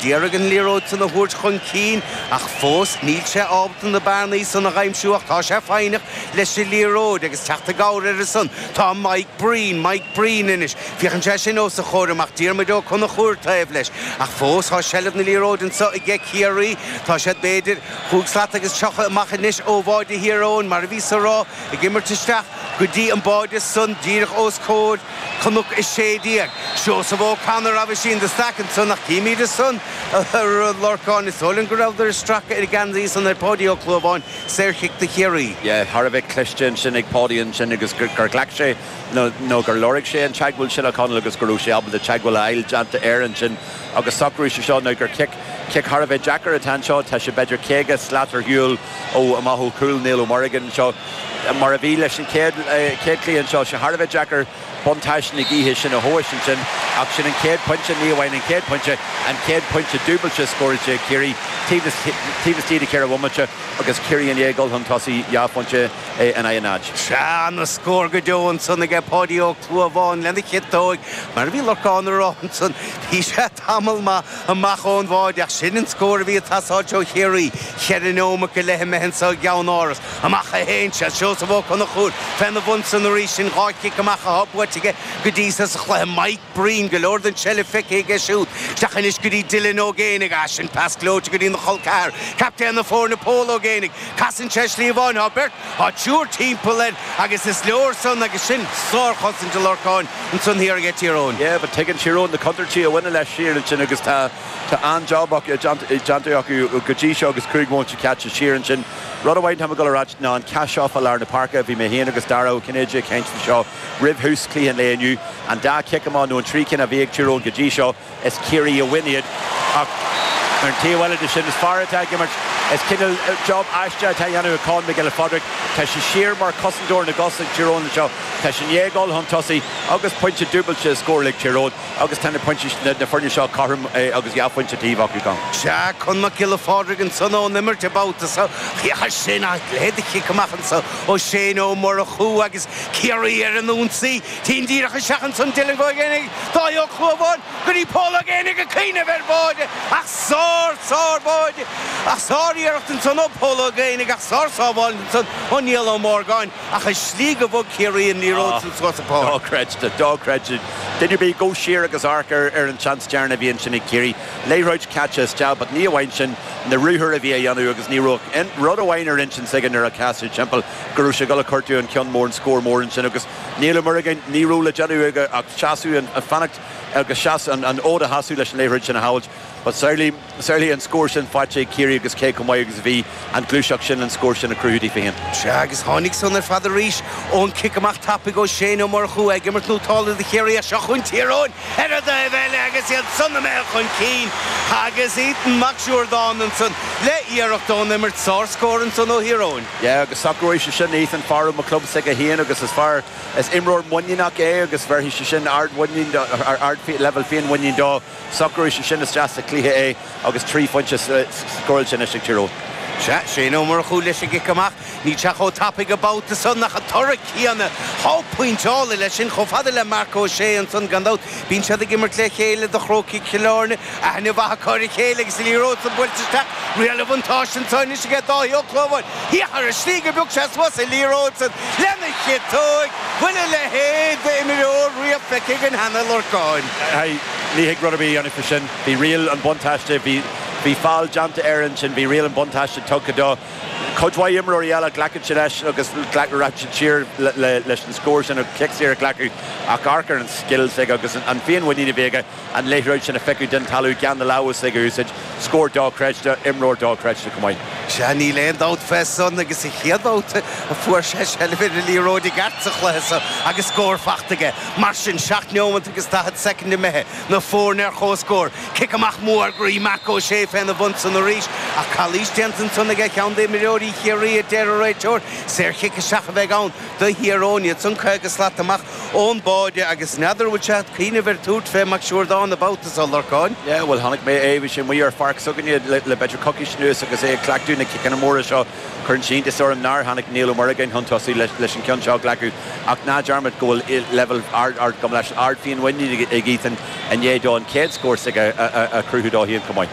D'iarraidh an liathróid san a thabhairt chun cinn ach fós níl sé ábalta na bearnaí san a dh'aimsiú ach tá sé foighneach leis an liathróid agus teacht i gcabhair air ansan tá Mike Breen, Mike Breen anois. Féachann sé sin os a chomhair amach Diarmuid Ó Conchúir taobh leis ach fós tá seilbh na liathróide anso aige Ciarraí. Tá siad b'fhéidir chúig slat agus 30 amach anois ó bháide Thír Eoghain mar a bhíos a rá ag imirt isteach go dtí an báide san díreach os comhair Cnoc 16. Seosamh O'Connor obviously in the stack ansan ach címid ansan a Lorcáin. Is dóigh liom go rabhadar ag stracadh ar an gceansaí san ar Pháidí Ó Clúmháin, saorchic do Chiarraí. Yeah, thar a bheith cliste ansin ag Páidí ansin agus gur ghlac sé nó gur lorg sé an teagmháil sin le Conall agus go raibh sé ábalta teagmháil a fháil déanta air ansin agus socrú sé seo now gur cic, cic thar a bheith deacair atá anseo. Tá sé b'fhéidir 50 slat ar shiúl ó amach ó chúl Niall Ó Muireagáin anseo. Mar a bhí leis an chéad chluiche anseo, sé thar a bheith deacair buntáiste na gaoithe sin a thomhais ansin ach sin an chéad pointe, ní amháin an chéad pointe, an chéad pointe dúbailte scóráilte ag Ciarraí taobh istigh de cheithre bhomaite agus Ciarraí i ndiaidh dul chun tosaigh dhá phointe in aghaidh a náid. Sea, ana-scór go deo ansan aige Páidí Ó Clúmháin lena chiotóig, mar a bhí Lorcán a rá ansan, bhí sé tamall maith amach ón bháide ach sin an scór a bhí ag teastáilt ó Chiarraí, cheithre neomat go leith imithe anso i gceann Áras. Amach a théann sé, Seosamh Ó Conchúir féna bhun san arís, sin dhá chic amach atá buaite aige go dtí so sa chluiche. Mike Breen, go leor den tseilbh feicthe aige siúd. Isteach anois go dtí Dylan Ó Géibheannaigh. Ah, sin pas gleoite go dtí na chol ceathar. Captaen na foirne, Pól Ó Géibheannaigh. Casann sé slí amháin, tá beirt, tá triúr timpeall air agus is leor san agus sin sárchosaint a Lorcáin ansan thiar aige Tír Eoghain. Yeah, but tuigeann Tír Eoghain na contúirtí a bhaineann leis siar ansin agus tá tá an-job déanta acu go dtí seo agus 5 bhomaite caite siar ansin. Rud amháin atá mé ag dul a ráit ná an cath seo fá lár na páirce, bhí mé féin agus Dara Ó Cinnéide ag caint faoi seo roimh thús chluiche an lae inniu, an dá chic amach nó an trí cinn a bhí ag Tír Eoghain go dtí seo, is Ciarraí a bhain iad ach ar an taobh eile de sin is fear atá ag imirt, is cineál job aisteach atá á dhéanamh ag Con Mac Giolla Phádraig, tá sé siar mar chosantóir na gcos ag Tír Eoghain anseo, tá sé i ndiaidh dul chun tosaigh agus pointe dúbailte scóráilte ag Tír Eoghain. Agus tá na pointí, na foirne seo cothrom agus dhá phointe taobh acu gan. Sea, Con Mac Giolla Phádraig ansan ón imirt an babhta so. Féach air sin, a leithéid de chic amach anso ó Shane Ó Murchú agus Ciarraí ar an ionsaí. Téann díreach isteach ansan Dylan Ó Géibheannaigh, Dáithí Ó Clúmháin go dtí Pól Ó Géibheannaigh ag cuimhneamh ar bháide ach sár, sár bháide ach sár-iarracht ansan ó Pól Ó Géibheannaigh ach sár-sábháil ansan ó Niall Ó Morgáin. Ach an slí go bhog Ciarraí an liathróid san suas an pháirc. Dochreidte, dochreidte. Duine ar bith, gabh siar agus amharc ar an tseans deireanach a bhí ansin ag Ciarraí. Liathróid caite isteach, but ní amháin sin, na ruathair a bhí á dhéanamh agus ní raibh aon rud amháin ar intinn s'aige nuair a chas sé timpeall go raibh sé ag dul a chortú an ceann mór, an scór mór ansin agus Niall Ó Muireagáin, ní raibh le déanamh aige ach seasamh, an fanacht agus seasamh, an fhód a sheasamh leis an liathróid sin a shábhailt. But samhlaigh, samhlaigh an scór sin faighte ag Ciarraí agus cé chomh maith agus a bhí an ghluaiseacht sin, an scór sin a chruthú daofa féin. Sea, agus tháinig san ar fad arís ón cic amach tapaidh ó Shane Ó Murchú, ag imirt nótálta do Chiarraí ach seo chugainn Tír Eoghain ar an dtaobh eile agus iad san imithe chun cinn agus Ethan Mac Siúrdáin ansan le iarracht ón imirt, sár-scór ansan ó Thír Eoghain. Yeah, agus socróidh sé sin Ethan, fear ó mo chlub s'aige féin agus is fear, is imreoir muiníneach é agus bhéarfaidh sé sin ard-mhuinín, ard-leibhéal féinmhuinín dó. Socróidh sé sin isteach sa chluiche é agus 3 phointe scóráilte anois ag Tír Eoghain. Sea, Shane Ó Murchú leis an gcic amach. Níl sé chomh tapaidh an babhta san ach an toradh céanna. Tá pointeála leis sin chomh fada le Marc Ó Sé ansan gan dabht. Bíonn siad ag imirt le chéile do Chrócaigh Chill Airne. Aithne mhaith acu ar a chéile agus an liathróid san buailte isteach. Riail an bhuntáiste anso anois aige Dáithí Ó Clúmháin. Féach ar an slí go bpioc sé suas an liathróid san lena chiotóig. Bhfuil a leithéid d'imreoir riamh feicthe againn cheana, a Lorcáin? Ní thig rud ar bith a dhéanamh faoi sin. Bhí riail an bhuntáiste, bhí, bhí feall déanta air ansin, bhí riail an bhuntáiste tugtha dó. Cuid mhaith imreoirí eile, ghlacfadh siad leis agus rachadh siad siar leis an scór sin agus cic saor a ghlacadh ach amharc ar an scil s'aige agus an féinmhuinín a bhí aige an liathróid sin a phiocadh den talamh gan na lámha s'aige a úsáid. Scór dochreidte, imreoir dochreidte chomh maith. Sea, níl aon dabht fé san agus sa chéad bhabhta a fuair sé seilbh ar an liathróid i gceart sa chluiche so agus scór fachta aige. Mar sin, 7 neomat agus 40 soicind imithe, na foirne ar comhscór. Cic amach mór groí Marc Ó Sé féna bhun san arís Ach calaois déanta ansan aige ceann d'imreoirí Chiarraí, a deir an réiteoir. Saorchic isteach a bheidh ann do Thír Eoghain. Iad san 50 slat amach ón báide agus n'fheadar an bhfuil sé ag cuimhneamh ar tabhairt fé Mac Siúrdáin an babhta so, Lorcáin. Yeah, bhuel chonaic mé é, bhí sé amuigh ar pháirc s'againne le b'fhéidir coicís anuas agus é ag cleachtadh na ciceanna móra seo. Cuireann sé iontas orm nár tháinig Niall Ó Muireagáin chun tosaigh leis an ceann seo a ghlacadh ach ná dearmad go bhfuil leibhéal ard, ard, gabh mo leithscéal, ard féinmhuinín ag Ethan i ndiaidh dó an chéad scór s'aige a chruthú dó féin chomh maith.